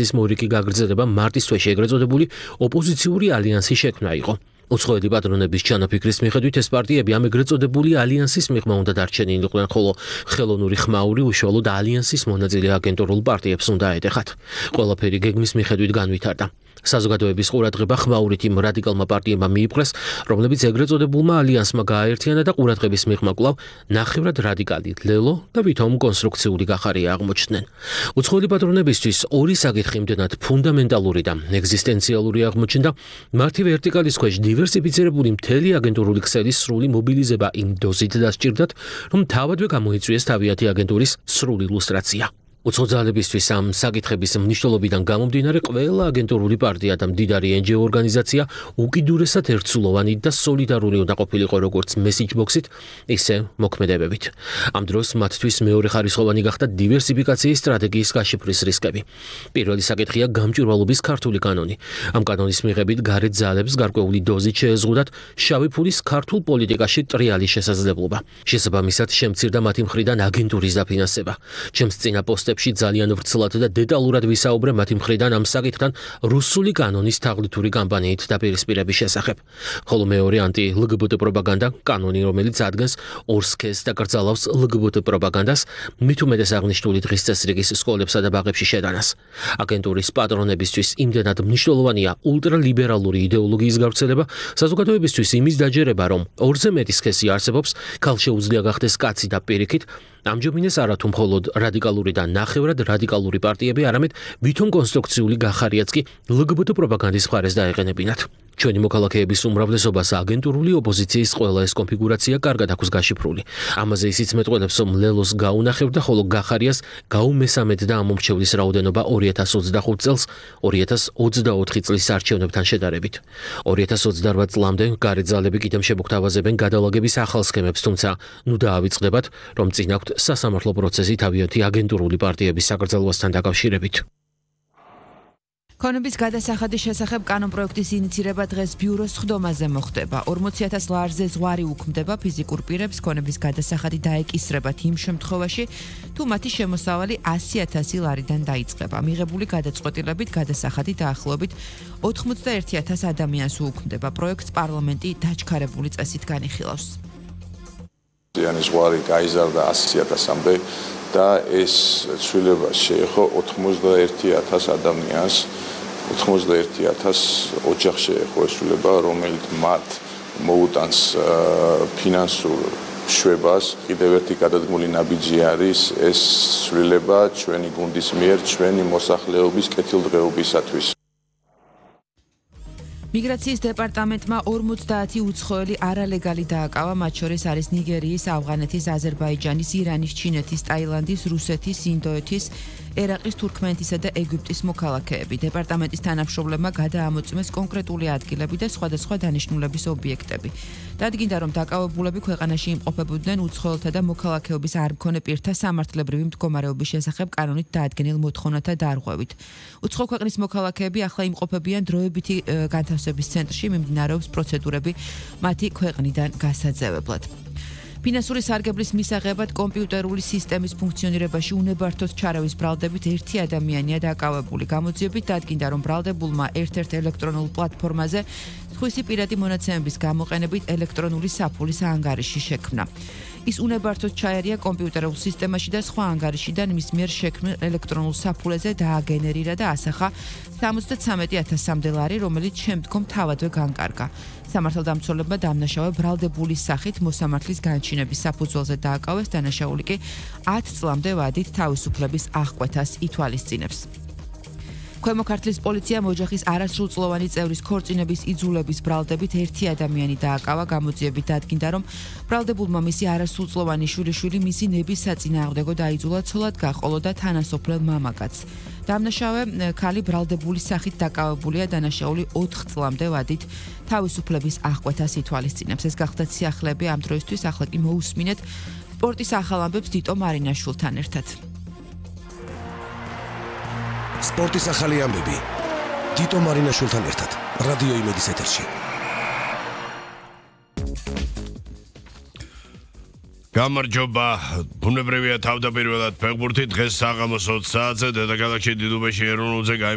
ის მორიგი გაგრძელება მარტის თვეში ეგრეთ წოდებული ოპოზიციური ალიანსის შექმნა იყო. უცხოელი პატრონების ჩანაფიქრის მიხედვით ეს პარტიები ამ ეგრეთ წოდებული ალიანსის მიღმა უნდა დარჩენილიყვნენ, ხოლო ხელოვნური ხმაური უშუალოდ ალიანსის მონაწილე აგენტურულ პარტიებს უნდა ეტეხათ. ყველაფერი გეგმის მიხედვით განვითარდა. საზოგადოების ყურადღება ხმაურით იმ რადიკალმა პარტიებმა მიიპყრეს, რომლებიც ეგრეთ წოდებულმა ალიანსმა გააერთიანა და ყურადღების მიღმა კვლავ ნახევრად რადიკალი ლელო და ვითომ კონსტრუქციული გახარია აღმოჩნდნენ. უცხოელი პატრონებისთვის ორი საკითხი იმდენად ფუნდამენტალური და ეგზისტენციალური აღმოჩნდა, მათი ვერტიკალის ქვეშ დივერსიფიცირებული მთელი აგენტურული ქსელის სრული მობილიზება იმ დოზით დასჭირდათ, რომ თავადვე გამოიწვიეს თავიანთი აგენტურის სრული ილუსტრაცია. უცხო ძალებისთვის ამ საკითხების მნიშვნელობიდან გამომდინარე ყველა აგენტურული პარტია და მდიდარი NGO ორგანიზაცია უკიდურესად ერთსულოვანი და სოლიდარული უნდა ყოფილიყო როგორც მესიჯ ბოქსით, ისე მოქმედებებით. ამ დროს მათთვის მეორე ხარისხოვანი გახდა დივერსიფიკაციის სტრატეგიის გაშიფვრის რისკები. პირველი საკითხია გამჭვირვალობის ქართული კანონი. ამ კანონის მიღებით გარეთ ძალებს გარკვეული დოზით შეეზღუდათ შავი ფულის ქართულ პოლიტიკაში ტრიალი შესაძლებლობა. შესაბამისად შემცირდა მათი მხრიდან აგენტურის დაფინანსება. ჩემს წინა პოსტებში ძალიან ვრცლად და დეტალურად ვისაუბრე მათი მხრიდან ამ საკითხთან რუსული კანონის თაღლითური კამპანიით დაპირისპირების შესახებ. ხოლო მეორე ანტი-LGBT პროპაგანდა, კანონი, რომელიც ადგენს ორ სქესს და კრძალავს LGBT პროპაგანდას, მით უმეტეს აღნიშნული დღის წესრიგის სკოლებსა და ბაღებში შეტანას. აგენტურის პატრონებისთვის იმდენად მნიშვნელოვანია ულტრალიბერალური იდეოლოგიის გავრცელება, საზოგადოებისთვის იმის დაჯერება, რომ ორზე მეტი სქესი არსებობს, ქალშეუძლია გახდეს კაცი და პირიქით, ამჯობინეს არა თუ მხოლოდ რადიკალური და ნახევრად რადიკალური პარტიები, არამედ ვითომ კონსტრუქციული გახარიაც კი LGBT პროპაგანდის მხარეს დაეყენებინათ. ჩვენი მოქალაქეების უმრავლესობას აგენტურული ოპოზიციის ყველა ეს კონფიგურაცია კარგად აქვს გაშიფრული. ამაზე ისიც მეტყველებს, რომ ლელოს გაუნახებდა, ხოლო გახარიას გაუმესამედ და ამომრჩევლის რაოდენობა 2025 წელს 2024 წლის არჩევნებთან შედარებით. 2028 წლამდე გარეთ ძალები კიდევ შემოგთავაზებენ გადალაგების ახალ სქემებს, თუმცა ნუ დაავიწყდებათ, რომ წინ აქვთ სასამართლო პროცესი თავიანთი აგენტურული პარტიების საკრძალვასთან დაკავშირებით. ქონების გადასახადის შესახებ კანონპროექტის ინიცირება დღეს ბიუროს სხდომაზე მოხდება. 40,000 ლარზე ზღვარი უქმდება ფიზიკურ პირებს, ქონების გადასახადი დაეკისრებათ იმ შემთხვევაში, თუ მათი შემოსავალი 100,000 ლარიდან დაიწყება. მიღებული გადაწყვეტილებით გადასახადი დაახლოებით 81,000 ადამიანს უქმდება. პროექტს პარლამენტი დაჩქარებული წესით განიხილავს. ზღვარი გაიზარდა 100,000-მდე და ეს ცვლილება შეეხო 81,000 ადამიანს, 81,000 ოჯახს შეეხო ეს ცვლილება, რომელიც მათ მოუტანს ფინანსურ შვებას. კიდევ ერთი გადადგმული ნაბიჯი არის ეს ცვლილება ჩვენი გუნდის მიერ ჩვენი მოსახლეობის კეთილდღეობისათვის. მიგრაციის დეპარტამენტმა 50 უცხოელი არალეგალი დააკავა, მათ შორის არის ნიგერიის, ავღანეთის, აზერბაიჯანის, ირანის, ჩინეთის, ტაილანდის, რუსეთის, ინდოეთის, ერაყის, თურქმენეთისა და ეგვიპტის მოქალაქეები. დეპარტამენტის თანამშრომლებმა გადაამოწმეს კონკრეტული ადგილები და სხვადასხვა დანიშნულების ობიექტები. დადგინდა, რომ დაკავებულები ქვეყანაში იმყოფებოდნენ უცხოელთა და მოქალაქეობის არ მქონე პირთა სამართლებრივი მდგომარეობის შესახებ კანონით დაადგენილ მოთხოვნათა დარღვევით. უცხო ქვეყნის მოქალაქეები ახლა იმყოფებიან დროებითი განთავსების ცენტრში, მიმდინარეობს პროცედურები მათი ქვეყნიდან გასაძევებლად. ფინანსური სარგებლის მისაღებად კომპიუტერული სისტემის ფუნქციონირებაში უნებართვოდ ჩარევის ბრალდებით ერთი ადამიანია დაკავებული. გამოძიებით დადგინდა, რომ ბრალდებულმა ერთ-ერთ ელექტრონულ პლატფორმაზე სხვისი პირადი მონაცემების გამოყენებით ელექტრონული საფულის ანგარიში შექმნა. ის უნებართვოდ ჩაერია კომპიუტერულ სისტემაში და სხვა ანგარიშიდან მის მიერ შექმნილ ელექტრონულ საფულეზე დააგენერირა და ასახა 73,000-მდე ლარი, რომელიც შემდგომ თავადვე განკარგა. სამართალდამცველებმა დამნაშავე ბრალდებულის სახით მოსამართლის განჩინების საფუძველზე დააკავეს, დანაშაული კი 10 წლამდე ვადით თავისუფლების აღკვეთას ითვალისწინებს. ქვემო ქართლის პოლიციამ ოჯახის არასრულწლოვანი წევრის ქორწინების იძულების ბრალდებით ერთი ადამიანი დააკავა. გამოძიებით დადგინდა, რომ ბრალდებულმა მისი არასრულწლოვანი შვილიშვილი მისი ნების საწინააღმდეგო დაიძულა, ცოლად გაყოლო და თანასოფლელ მამაკაცს. დამნაშავე ქალი ბრალდებულის სახით დაკავებულია, დანაშაული 4 წლამდე ვადით თავისუფლების აღკვეთას ითვალისწინებს. ეს გახდათ სიახლეები ამ დროისთვის, ახლა კი მოусმინეთ სპორტის ახალ ამბებს დიტო მარინაშვილთან ერთად. სპორტის ახალი ამბები დიტო მარინაშვილთან ერთად რადიო იმედის ეთერში. გამარჯობა, ბუნებრივია თავდაპირველად ფეხბურთი დღეს საღამოს 20 საათზე დედაქალაქში დიდუბეში ეროვნულზე